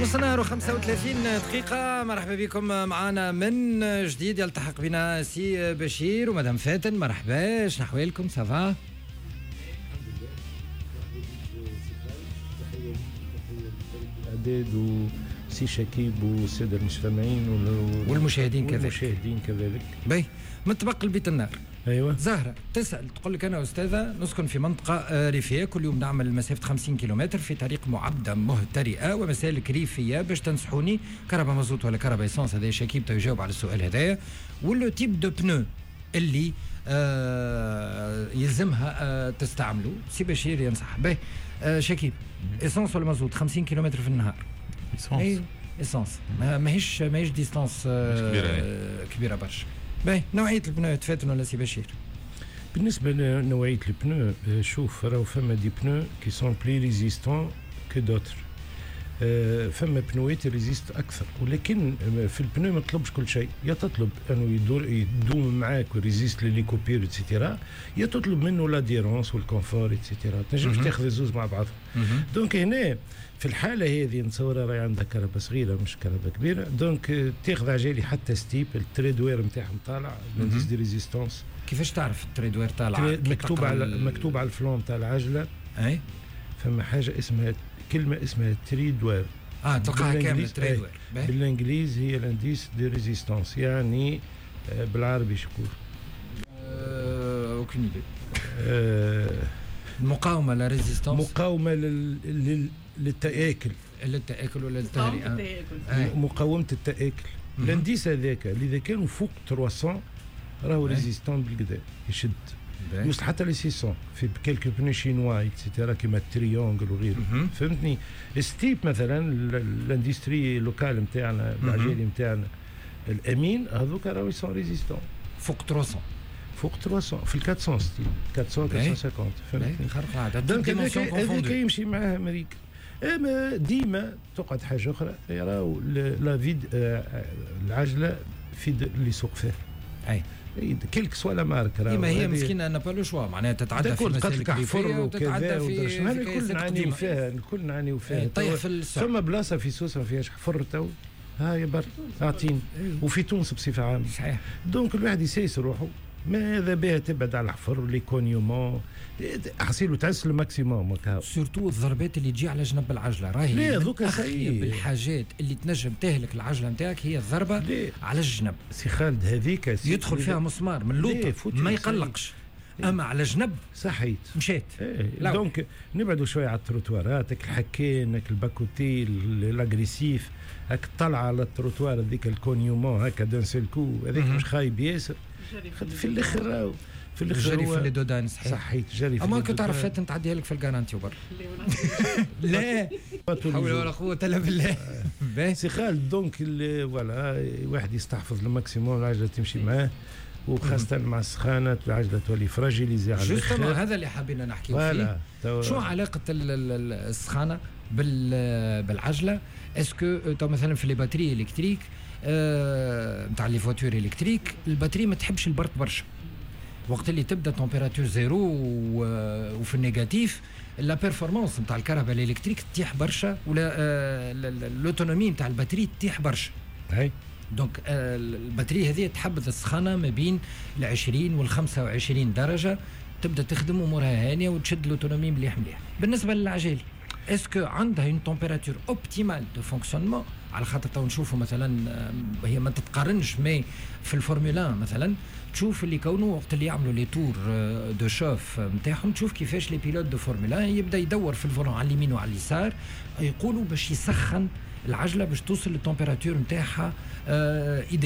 نص نهار و35 دقيقة، مرحبا بكم معنا من جديد. يلتحق بنا سي بشير ومدام فاتن، مرحبا، شنو أحوالكم؟ ça va؟ الاعداد وسي شكيب والسادة المستمعين والمشاهدين كذلك. والمشاهدين كذلك. باهي، من طبق البيت النار. ايوه. زهرة تسأل تقول لك أنا أستاذة نسكن في منطقة ريفية، كل يوم نعمل مسافة 50 كيلومتر في طريق معبدة مهترئة ومسالك ريفية، باش تنصحوني كرهبة مازوت ولا كرهبة essence؟ هذا شكيب يجاوب على السؤال هذايا. و le type de pneu اللي يلزمها تستعمله، سي بشير ينصح به. شكيب، essence ولا مازوت 50 كيلومتر في النهار؟ essence. اي essence، ماهيش distance كبيرة. كبيرة برشا. باهي، نوعية ال pneu تفاتن ولا سي بشير؟ بالنسبة لنوعيه ال pneu، شوف، راهو فما des pneus qui sont plus résistants que d'autres، فما بنوات résistent اكثر، ولكن في ال pneu ما تطلبش كل شيء. يا تطلب انه يدور يدوم معاك و résiste les coupures et cetera، يا تطلب منه l'adhérence وال confort et cetera. تنجمش تاخذ زوز مع بعضهم. donc هنا في الحالة هذه نتصور راهي عندها كرهبة صغيرة مش كرهبة كبيره، donc تاخذ عجالي حتى ستيب ال treadwear نتاعهم طالع، l'indice de résistance. كيفاش تعرف ال treadwear طالع؟ مكتوب على مكتوب على ال flanc تاع العجله. فما حاجة اسمها، كلمة اسمها treadwear. اه، تلقاها كاملة treadwear. بالانجليز هي l'indice de résistance، يعني بالعربي شكون؟ aucune idée. المقاومه، la résistance. مقاومة للتآكل. للتآكل ولا للتهرئه. مقاومة التآكل. l'indice هذاك اللي اذا كانوا فوق 300 راهو résistant بالقدا، يشد، يوصل حتى ل 600 في quelques pneus chinois et cetera كيما Triangle وغيره، فهمتني؟ ستيب مثلا، l'industrie locale نتاعنا، العجالي نتاعنا الامين، هذوك راهو sont résistants. فوق 300. فوق 300، في ال 400 ستيب، 400، 450، فهمتني؟ خرق العادة. donc هذاك يمشي معاه امريكا. اما ديما تقعد حاجة اخرى، راهو la vie العجلة في اللي يسوق فيه. Quelle que soit la marque. ما هي مسكينه n'a pas le choix، معناها تتعدى في مسالك حفر وكذا، الكل نعانيو فيها، الكل نعانيو فيها. طيح في السعر. ثم بلاصة في سوسة ما فيهاش حفر تو؟ هاي بر اعطيني، وفي تونس بصفة عامه. Donc الواحد يسيس روحه، ماذا بها تبعد على الحفر، les cognements، حصيلو تعس ال maximum. surtout الضربات اللي تجي على جنب العجله، راهي لا دوكا بالحاجات اللي تنجم تهلك العجلة نتاعك هي الضربة على الجنب. سي خالد، هذيك يدخل فيها مسمار من اللوطه ما يقلقش، اما على جنب صحيت. مشيت. إيه. donc نبعدوا شوية على التروتوارات، الحكين، ال bas-côté l'agressif، هاك الطلعة على التروتوار هذيك، ال cognement هكا d'un seul coup، هذيك مش خايب ياسر في الاخر. في الاخر جري في les dos d'âne، صحيح. صحيت، جري في اما كنت تعرف فاتن تعديها لك في ال garantie وبر، لا حول ولا قوة الا بالله. سي خالد، donc voilà، واحد يستحفظ ال maximum، العجلة تمشي معاه، وخاصة مع السخانة العجلة تولي fragilisée على الاخر. هذا اللي حابين نحكيو فيه. شو علاقة السخانة بالعجلة؟ est-ce que تو مثلا في les batteries électriques نتاع les voitures électriques، ال batterie ما تحبش البرد برشا. وقت اللي تبدا température zéro وفي ال négatif، la performance نتاع الكرهبة électrique تطيح برشا، ولا l'autonomie نتاع ال batterie تطيح برشا. Donc ال batterie هذه تحبذ السخانه ما بين ال 20 وال 25 درجه، تبدا تخدم امورها هانيه وتشد l'autonomie مليح مليح. بالنسبة للعجالي، est-ce que عندها une température optimale de fonctionnement؟ على خاطر تو نشوفوا مثلا، هي ما تتقارنش، mais في الفورمولا مثلا تشوف اللي كونه وقت اللي يعملوا les tours de chauffe نتاعهم، تشوف كيفاش les pilotes de Formule يبدا يدور في ال volant على اليمين وعلى اليسار، يقولوا باش يسخن العجلة باش توصل لل température نتاعها idéale.